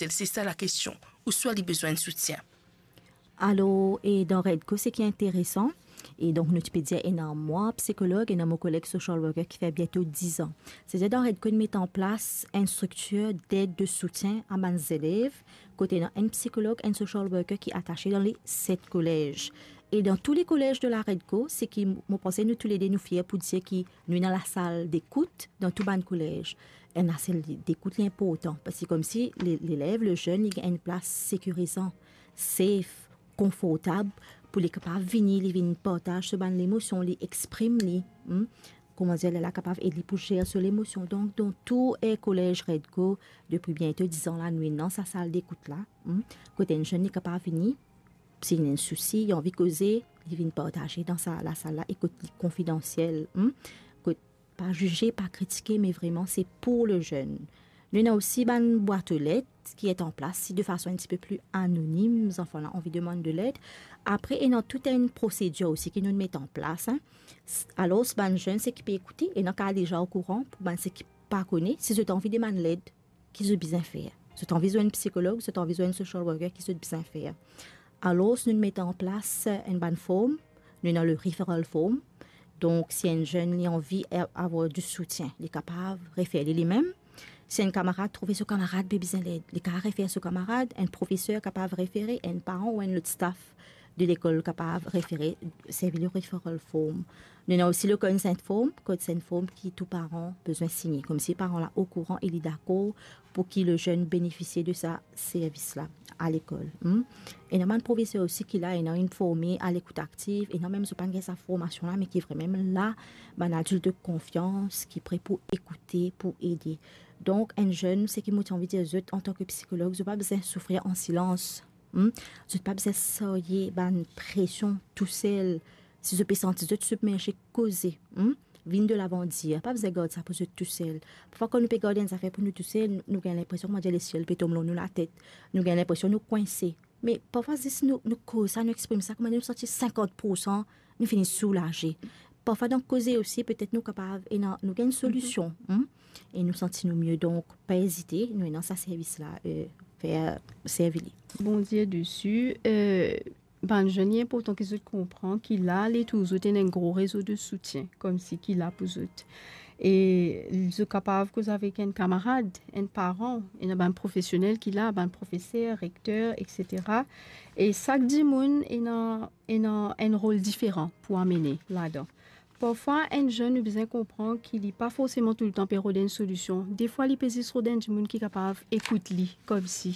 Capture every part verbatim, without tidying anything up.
tel, se sa lakestion, ouswa li bizin enn soutien. Alor, e dan Redco, seki interesan, e donk nou ti pe dir ena mwa psikolog, ena mo koleg social worker ki fer biento diz an. Setadir dan Redco, nou met an plas enn striktir ded, de soutien a bann zelev, kot ena enn psikolog, enn social worker ki atase dan le set kolez. E dan tou le kolez de la Redco, seki mo panse nou toulede nou fier pou dir ki nou ena lasal dekout dan tou bann kolez. Enn lasal dekout li inportan, parski koumsi le, lelev, le zenn, li gagn enn plas sekirizan, safe, konfortab, pou li kapav vini, li vinn partaz so bann lemosion, li exprim li, hmm? Kouma dir, lerla kapav ed li pou zer so lemosion. Donk, dan tou, eh, kolez Redco, depi biento diz an la, nou ena sa sal dekout la, hmm? Kot enn zenn li kapav vini, si li ena enn sousi, li anvi koze, li vinn partaze dan sa, lasal la, e kot li konfidansiel, hmm? Kot pa zize, pa kritike, me vreman se pou le zenn. Nou ena osi bann bwat o let ki et an plas, si de fason enn tipe pli anonim, zanfan la anvi demann de led. Apre, ena tou enn prosedir osi ki nou met an plas, hein. S-, alor, bann zenn, seki pe ekoute, ena kapav deza okouran, pou bann seki pa kone, si zot anvi demann led, ki zot bizin fer? Zot anvi zwenn psikolog, zot anvi zwenn social worker, ki zot bizin fer? Alor, nou met an plas enn bann form, nou ena le referral form. Donk, si enn zenn li anvi a-, avoir du soutien, li kapav refer li limem. Si enn kamarad trouve so kamarad pe bizin led, li kapav refer so kamarad, enn profeser kapav refere, enn paran ou enn lot staff de lekol kapav refere, servi le referral form. Nou ena osi le consent form, consent form ki tou paran bizin signe, koumsi paran la okouran e li dakor pou ki le zenn benefisie de sa servis la a lekol. Hmm? Ena bann profeser osi ki la, ena inn forme a lekout aktiv, ena mem zot pa'nn gagn sa formasion la, me ki vremem la, bann adilt de konfians ki pre pou ekoute, pou ede. Donk, enn zenn, seki mo ti anvi dir zot, antan ke psikolog, zot pa bizin soufrir an silans. Hmm? Zot pa bizin sarye bann presion tousel. Si zot pe santi zot sibmerze, koze, hmm? Vinn de lavan, dir, pa bizin gard sa pou zot tousel. Parfwa, kan nou pe gard enn zafer pou nou tousel, nou, nou gagn linpresion, kouma dir, lesiel pe tom lor nou latet. Nou gagn linpresion nou kwinse. Me parfwa, zis nou, nou koz sa, nou exprim sa, kouma nou santi sinkant poursan, nou fini soulaze. Parfwa, dan koze osi, petet nou kapav, ena, nou gagn solusion, hmm? E nou santi nou mie. Donk, pa ezite, nou ena sa servis la, eh, fer, servi li. Bondie desi, eh, bann zenn, li inportan ki zot konpran ki la, letour zot ena enn gro rezo de soutien, koumsi ki la pou zot. E zot kapav koz avek enn kamarad, enn paran, ena bann profesionel ki la, bann profeser, rekter, et cetera. E sak dimoun ena, ena enn rol diferan pou amene ladan. Parfwa, enn zenn, nou bizin konpran ki li pa forseman toultan pe rod enn solision. Defwa, li pe zis rod enn dimoun ki kapav ekout li, koumsi.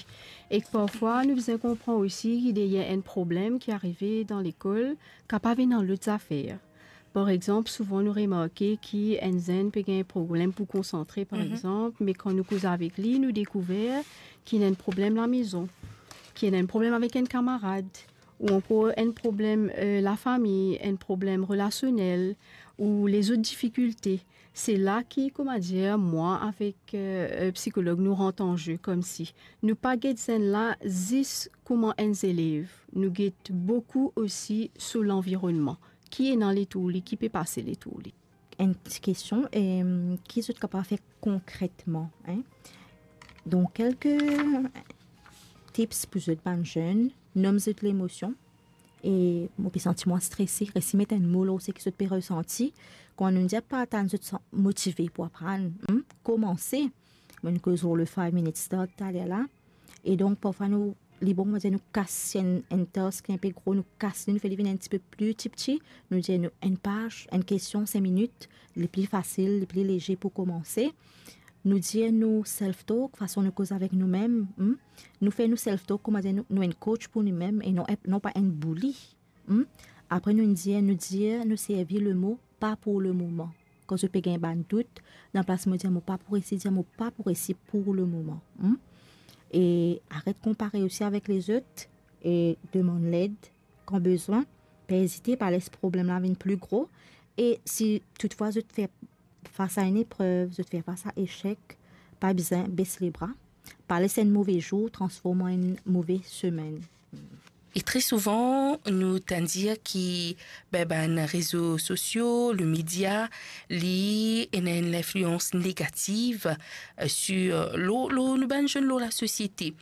Ek parfwa, nou bizin konpran osi ki deryer enn problem ki arive dan lekol, kapav ena lot zafer. Par exanp, souvan nou remarke ki enn zenn pe gagn problem pou konsantre, par exanp, me kan nou koz avek li, nou dekouver ki ena enn problem lamezon, ki ena enn problem avek enn kamarad, ou ankor enn problem, eh, lafami, enn problem relasionel, ou lezot difikilte. Se la ki, kouma dir, mwa avek, eh, eh, psikolog, nou rant an ze, koumsi nou pa get zenn la zis kouma enn zelev, nou get boukou osi so lanvironnman. Ki ena letour li, ki pe pase letour li. Enn ti kestion, em, ki zot kapav fer konkretman, hein? Donk, kelke tips pou zot bann zenn, nom zot lemosion, e mo pe santi mwa strese, resi met enn mo lor seki zot pe resanti. Kan nou dir pa tann zot san-, motive pou aprann, hmm, koumanse. Mo'nn koz lor le five minute start taler la. E donk, parfwa nou, li bon, nou dir nou kas enn, enn task inpe gro, nou kas li, nou fer li vinn enn tipe pli tipti, nou dir nou enn paz, enn kestion, sink minit, li pli fasil, li pli leze pou koumanse. Nou dir nou self-talk, fason nou koz avek noumem, hmm? Nou fer nou self-talk, kouma dir nou, nou enn coach pou noumem, e non, non pa enn bully, hmm? Apre nou dir, nou dir, nou servi le mo pa pou le moman. Kan zot pe gagn bann dout, dan plas mo dir mo pa pou resi, dir mo pa pou resi pou le moman, hmm? E aret konpare osi avek lezot, e demann led kan bizin, pa ezite, pa les problem la vinn pli gro. E si toutfwa zot fer fas a enn eprev, zot fer fas a esek, pa bizin bes lebra. Pa les enn move zour transform an enn move semenn. E tre souvan, nou tann dir ki, be, bann rezo sosio, le media, li ena enn linflians negativ, eh, sur, lor, lor nou bann zenn, lor lasosiete.